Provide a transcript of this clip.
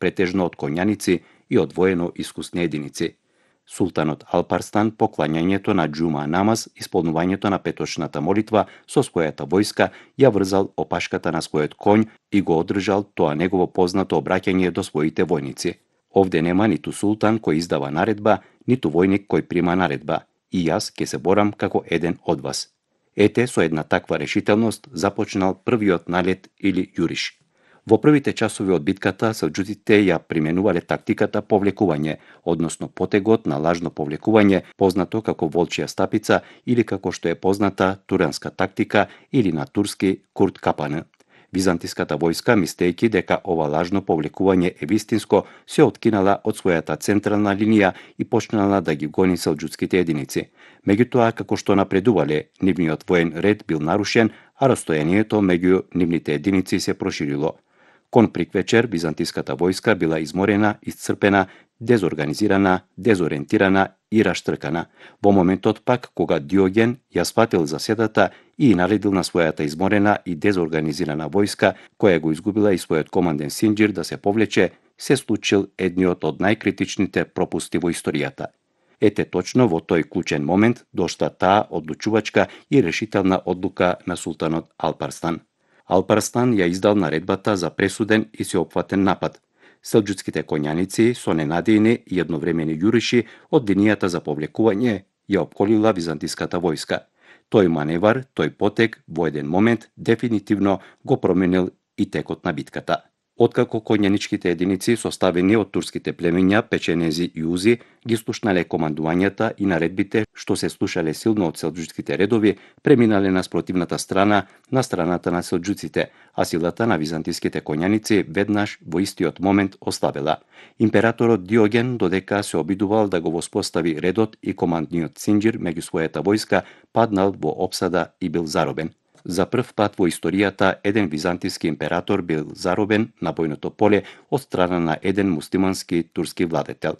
претежно од коњаници и од воено искусни единици. Султанот Алпарстан поклањањето на џума намаз, исполнувањето на петочната молитва со својата војска ја врзал опашката на својот конј и го одржал тоа негово познато обраќање до своите војници. Овде нема ниту султан кој издава наредба, ниту војник кој прима наредба. И јас ќе се борам како еден од вас. Ете, со една таква решителност започнал првиот налет или јуриш. Во првите часови од битката селџуците ја применувале тактиката повлекување, односно потегот на лажно повлекување, познато како волчја стапица или како што е позната туранска тактика или на турски Курт Капан. Византиската војска, мислејќи дека ова лажно повлекување е вистинско, се откинала од својата централна линија и почнала да ги гони селџуцките единици. Меѓутоа, како што напредувале, нивниот воен ред бил нарушен, а растојанието меѓу нивните единици се проширило. Кон приквечер, византиската војска била изморена, исцрпена, дезорганизирана, дезориентирана и раштркана. Во моментот пак, кога Диоген ја сватил заседата и наредил на својата изморена и дезорганизирана војска, која го изгубила и својот команден Синџир да се повлече, се случил едниот од најкритичните пропусти во историјата. Ете точно во тој клучен момент дошла таа одлучувачка и решителна одлука на султанот Алпарстан. Алпарстан ја издал наредбата за пресуден и сеопфатен напад. Селџуцките коњаници со ненадејни и едновремени јуриши од линијата за повлекување ја опколила византиската војска. Тој маневар, тој потег во еден момент дефинитивно го променил и текот на битката. Откако коњаничките единици составени од турските племиња, печенези и узи, ги слушнале командувањата и наредбите што се слушале силно од селџуцките редови, преминале на спротивната страна, на страната на селџуците, а силата на византиските коњаници веднаш во истиот момент ослабела. Императорот Диоген, додека се обидувал да го воспостави редот и командниот Синџир меѓу својата војска, паднал во опсада и бил заробен. За прв пат во историјата еден византиски император бил заробен на бојното поле од страна на еден муслимански турски владетел.